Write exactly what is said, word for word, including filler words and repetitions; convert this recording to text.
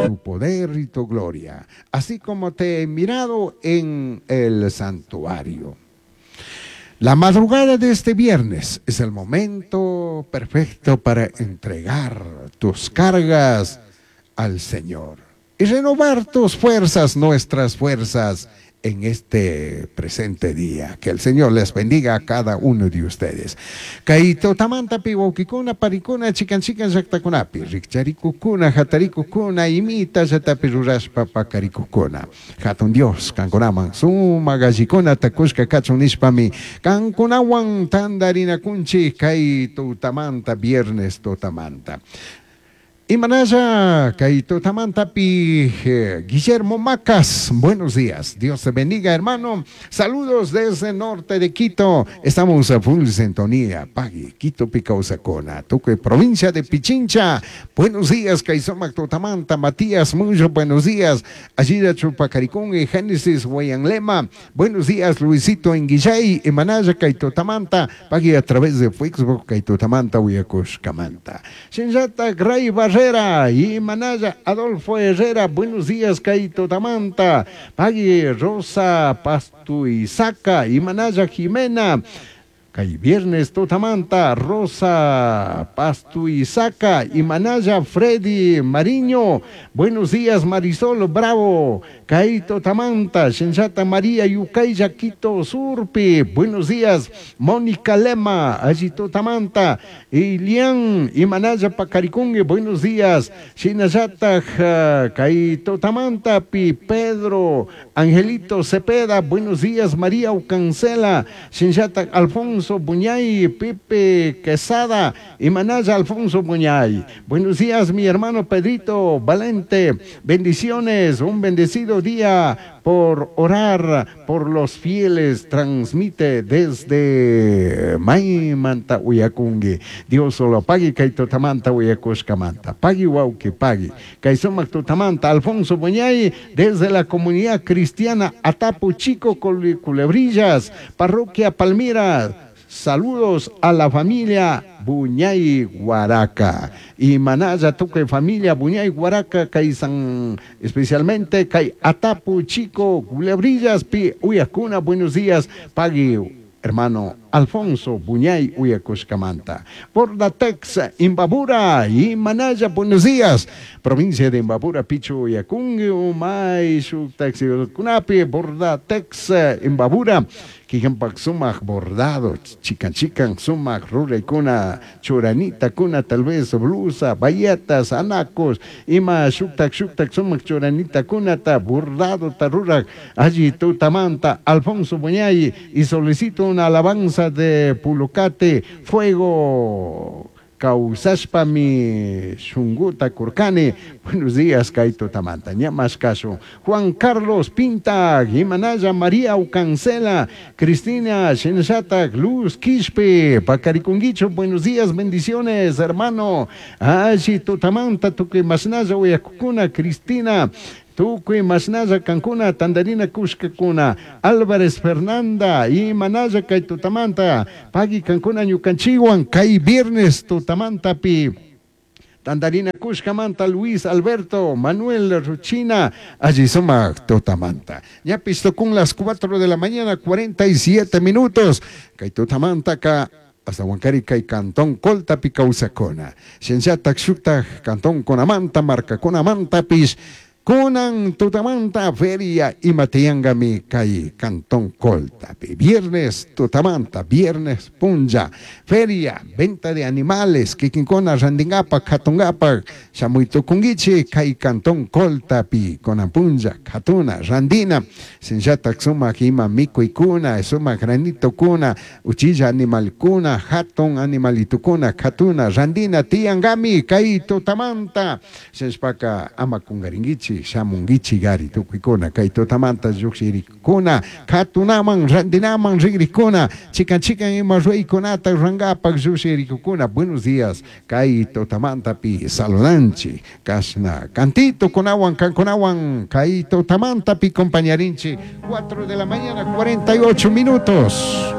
tu poder y tu gloria, así como te he mirado en el santuario. La madrugada de este viernes es el momento perfecto para entregar tus cargas al Señor y renovar tus fuerzas, nuestras fuerzas en este presente día. Que el Señor les bendiga a cada uno de ustedes. Kay tutamantapi wawkikuna panikuna chikan chikan llaktakunapi rikcharikukuna hatarikukuna imita llatapi rurashpa pakarikukuna. Hatun Dios kankunaman sumak allikunata kushka kachun nishpami kankunawan tandarinakunchik kay tutamanta viernes tutamanta. Imanalla, kay tutamantapi, eh, Guillermo Macas, buenos días, Dios te bendiga, hermano. Saludos desde el norte de Quito, estamos a full sintonía, Pagui, Quito pi kawsakuna, tukuy, provincia de Pichincha. Buenos días, kay sumak tutamanta, Matías, mucho buenos días. Allí Chupacaricún y Génesis Lema. Buenos días, Luisito Enguillay, Imanalla, kay tutamanta, Pagui a través de Facebook, kay tutamanta, uyakushkamanta. Shinllata, Gray Barrera y Manaya Adolfo Herrera, buenos días, kay tutamanta, Pagui Rosa Pastuizaca y Manaya Jimena. Kay viernes tutamanta, Rosa Pastuizaca y Manaya Freddy Mariño. Buenos días, Marisol Bravo. Kay tutamanta, Shinllata María Yucaya Quito Surpi. Buenos días, Mónica Lema, alli tutamanta, Ilian y Manaya Pacaricungue. Buenos días, Shinallata kay tutamanta, Pi Pedro Angelito Cepeda. Buenos días, María Ucancela, Shinllata Alfonso Buñay, Pepe Quesada y Manaya Alfonso Buñay. Buenos días, mi hermano Pedrito Valente. Bendiciones, un bendecido día por orar por los fieles. Transmite desde Maymanta uyakunki. Dios solo pagui kay tutamanta uyakushkamanta. Pagui wawki pagui. Kay sumak tutamanta Alfonso Buñay desde la comunidad cristiana Atapu Chico Culebrillas, Parroquia Palmira. Saludos a la familia Buñay Guaraca. Y Manaya tukuy familia Buñay Guaraca, kay San, especialmente kay Atapu Chico, Culebrillas, Pi uyakuna, buenos días, pagui hermano Alfonso Buñay uyakushkamanta. Por la Tex, Imbabura y Manaya, buenos días. Provincia de Imbabura, Pichu uyakungi, Umay, Shuktaxi, Kunapi, Bordatex, Imbabura, Kikampak sumak bordado, chikan chikan sumak ruraykuna, churanita kuna, tal vez blusa, bayetas, anacos, ima shuktak shuktak sumak churanita kunata, bordado tarurak, alli tutamanta, Alfonso Buñay, y solicito una alabanza de Pulucate, fuego. Kawsashpami shunguta kurkani. Buenos días, kay tutamanta. Ña caso. Juan Carlos Pinta, Jimanaya María Ucancela, Cristina Shenshata, Luz Quispe, Pacariconguicho, buenos días, bendiciones, hermano. Alli tutamanta, tukuy mashnalla uyakukuna, Cristina. Tukuy mashnalla kankuna, tandarina kushkakuna, Álvarez Fernanda, y Manaya kay tutamanta, pagui kankuna ñukanchiwan, kay viernes tutamanta pi. Tandarina kushkamanta, Luis Alberto, Manuel Ruchina, alli sumak tutamanta. Ya con las cuatro de la mañana, cuarenta y siete minutos. Kay tutamanta ka hasta Huancari kay Cantón Colta pi kawsakuna. Shinllatak shuktak Cantón Conamanta, marka Conamanta pish. Kunan tutamanta feria ima tiyangami kay Cantón Coltapi. Viernes tutamanta, viernes punlla, feria, venta de animales, kikinkuna randingapak, katungapak, shamuitukunguichi kay Cantón Coltapi, kunan punlla, katuna, randina, shinllatak sumak ima mikuykuna, sumak granitokuna, uchilla animalkuna, hatun animalitukuna, katuna, randina, tiyangami, kay tutamanta, shinashpaka ama kungaringuichi, shamunguichi gari tukuykuna kay tutamanta llukshirikuna katunaman randinaman rigrikuna chikan chikan ima ruraykunata rurangapak llukshirikukuna. Buenos días, kay tutamantapi saludanchi kashna cantito kunawan kankunawan kay tutamantapi compañarinchi. cuatro de la mañana cuarenta y ocho minutos.